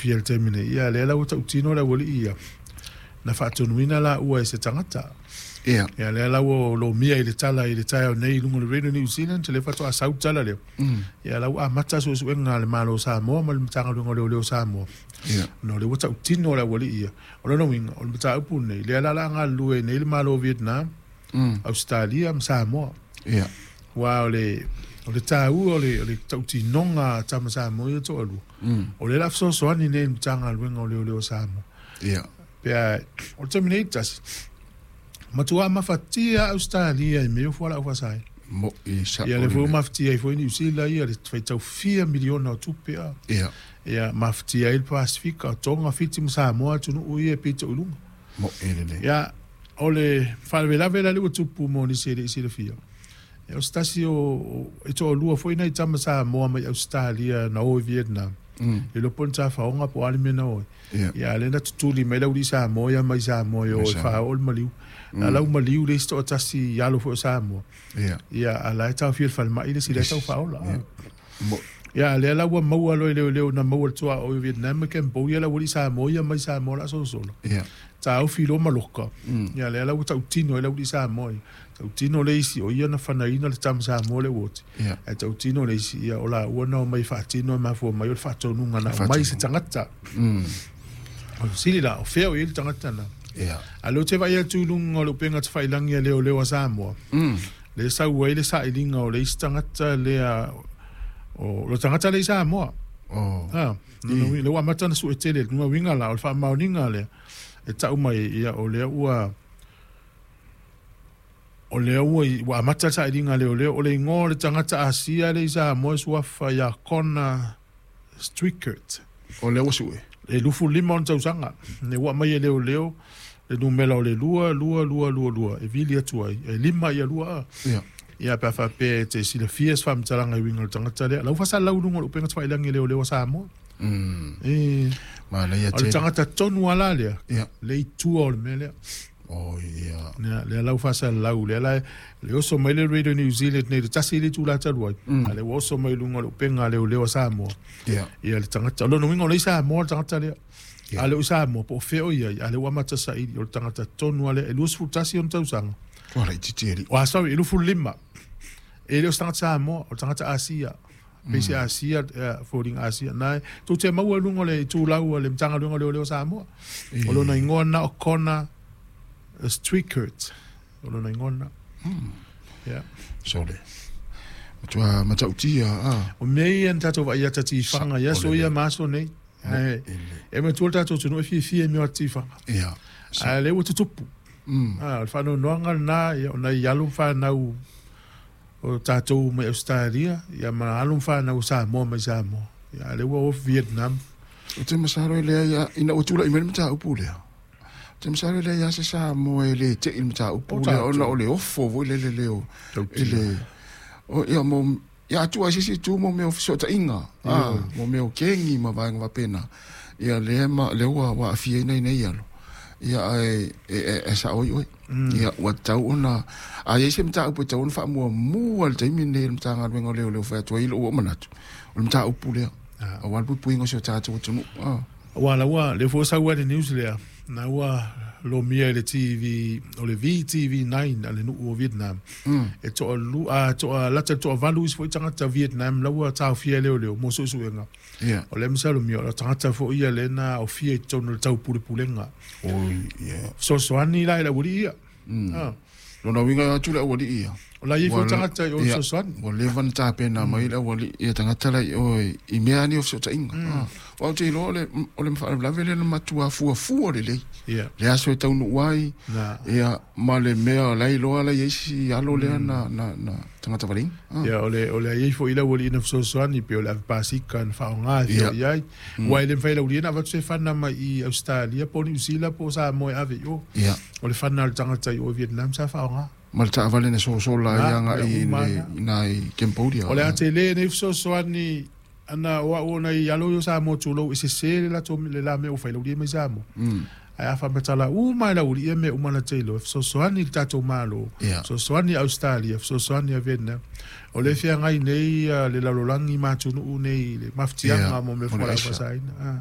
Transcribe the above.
taofia i le taimi nei, ia lea la ua tautino le aualii ia, na faatonuina laua e se tagata. Ia. Ia lea la ua lomia i le tala i le taeao nei i luga o le Radio New Zealand, lea faatoa sau le tala lea. Ia la ua amata suesuega a le Malo o Samoa ma le Matagaluega o Leoleo o Samoa. Ia. Ona o lea ua tautino le aualii ia. O lona uiga, o le mataupu lenei, lea la o le a galulue ai nei le Malo o Vietnam, Ausetalia ma Samoa. Ia. Aua o le taua o le tautinoga a tama Samoa ia toalua, o lea o le a fesoasoani nei i le Matagaluega o Leoleo o Samoa. Ia. Pe a, o le taimi nei tasi, matua mafatia Ausetalia i mea o fualaau faasaina. Mo i sa. Ia, le foi mafatia ai foi Niu Sila ia le faitau fia miliona o tupe a. Ia. Ia, mafatia ai le Pasifika, o Tonga, Fiti ma Samoa atunuu ia e pito i luga. Mo i lelei. Ia, o le faalavelave la lea ua tupu mo nisi e le i silafia. Ia, o se tasi o e toalua foi nai tama Samoa mai Ausetalia na o i Vietnam. Le iloa po o ni tafaoga po o a le mea na o ai. Ia. Ia, lea na tutuli mai le aualii Samoa ia mai Samoa e o e faaoo le maliu. Na lau maliu le isi toatasi i alo foi o Samoa. Ia. Ia, a la e taofia i le falemai le isi lea tau faaola. Mo. Ia, lea la ua maua loa e leoleo na maua le tuaoi o Vietnam ma Cambodia le aualii Samoa ia mai Samoa o le a solosolo. Ia. Taofi loa ma loka. Ia, lea la ua tautino ai le aualii Samoa ia. Tautino le isi o ia na fanaina le tama Samoa le ua oti. Ia. Ae tautino le isi, ia o laua na omai faatino e mafua mai o le faatonuga na aumai se tagata. O le fesili la, o fea o i ai le tagata na? Ia. A lea ou te vaai atu i luga o le upega tafailagi a leoleo a Samoa. Lea e sau ai le sailiga o le isi tagata lea o le tagata lea i Samoa. Oh. Ha, lea ua amata ona sue tele, lona uiga la o le faamaoniga lea e tau mai ia o lea ua amata le sailiga a leoleo o le igoa o le tagata Asia lea i Samoa e suafa ia Connor Strickert. O lea ua sue. E 25 ona tausaga. Ne ua aumai e leoleo le numera o le 2 2 2 2 2 e vili atu ai e lima ia lua a. Ia. Ia, pe a faapea e te silafia se faamatalaga i uiga o le tagata lea. La ua faasalalau i luga o le upega tafailagi a leoleo a Samoa. E, Manaia o le tele. tagata tonu ala lea. Ia. Le i tua o le mea lea. Oh, ia. Lea, lea lau faasalalau, lea la, le oso mai le Radio New Zealand nei le tasi le itula talu ai. A lea ua oso mai i luga o le upega a leoleo a Samoa. Ia. Ia le tagata. O lona uiga o lea i Samoa le tagata lea. Ia. A le o i Samoa, po o fea o i ai, a lea ua amata saili o le tagata tonu a lea, e 21 ona tausaga. Ua laitiiti e li. Oh, sorry, e 25. E le o se tagata Samoa, o le tagata Asia. Pei se Asia, foliga Asia. Na, tou te maua i luga o le itulau a le Matagaluega o Leoleo o Samoa. O lona igoa na o Connor Strickert. O lona igoa na. Yeah. Sole. Matua matautia. Ah. O mea ia na tatou vaai ata tifaga ia aso ia ma aso nei. Ae, e matua le tatou atunuu e fiafia i mea o tifaga. Ia. A lea ua tutupu. Ah, o le faanoanoaga lena, ia, ona i alo ma fanau o tatou mai Australia, ia ma alo ma fanau o Samoa mai Samoa. Ia, a lea ua o Vietnam. O te masalo e lea ia, ina ua tula'i mai le mataupu lea. O te masalo e lea ia se Samoa e le te i le mataupu O lea, tatou. ona o le ofo foi lele leo. Tautia. I le, o, ia, mo, ia atua ai se isi itu mo mea o fesootaiga, ah, mo mea o kengi ma vaega faapena. Ia lea ma, lea ua aafia ai nei alo. Ia ae e sao ai oe. Ia ua tatau ona, a i ai se mataupu e tatau ona faamuamua i le taimi lenei e le Matagaluega o Leoleo fai atu ai lou manatu, o le mataupu lea. Aua le puipuiga o si o tatou atunuu. Ah. Ua la ua le foi sau ai le news lea. Na ua lomia i le TV, o le VTV9 a le nuu o Vietnam. E toa lu, a toa lata toa valu isi foi tagata Vietnam la ua taofia e leoleo mo suesuega. Ia. O lea masalomia, o le tagata foi ia lea na aofia i totonu o le taupulepulega. Oi, ia. Fesoasoani la i le aualii ia. Ah. Lona uiga atu le aualii ia. O la i ai foi tagata i o fesoasoani. Ua leva ona tapena mai le aualii ia tagata la i o i mea ni o fesootaiga. Ah. Ua ou te iloa o le faalavelave lea na matua fuafua lelei. Ia. Le aso e taunuu ai. Na. Ia, ma le mea la iloa la i ai isi alo lea na tagata valeina. Ah. Ia, o le ai foi le aualii na fesoasoani pe o le ave pasika na faaaoga e fia i ai. Ua e le mafai e le aualii na avatu se fana mai i Australia po o Niu Sila po o Samoa e ave i o. Ia. O le fana a le tagata i o i Vietnam sa faaaoga. Ma le taavale na sosola ai Ah, aga ia i uma le na. i nai Cambodia. O le a tele nei fesoasoani ana o au ona i alo i o Samoa tulou e sese le latou le la mea ua fai le aualii mai Samoa. Ae a faamatala uma e le aualii ia mea uma na te iloa, e fesoasoani i le tatou Malo, fesoasoani i Australia, fesoasoani i Vietnam. O le feagai nei le lalolagi ma atunuu nei i le mafatiaga Ia, mo mea o le fualaau aisa. faasaina. Ah.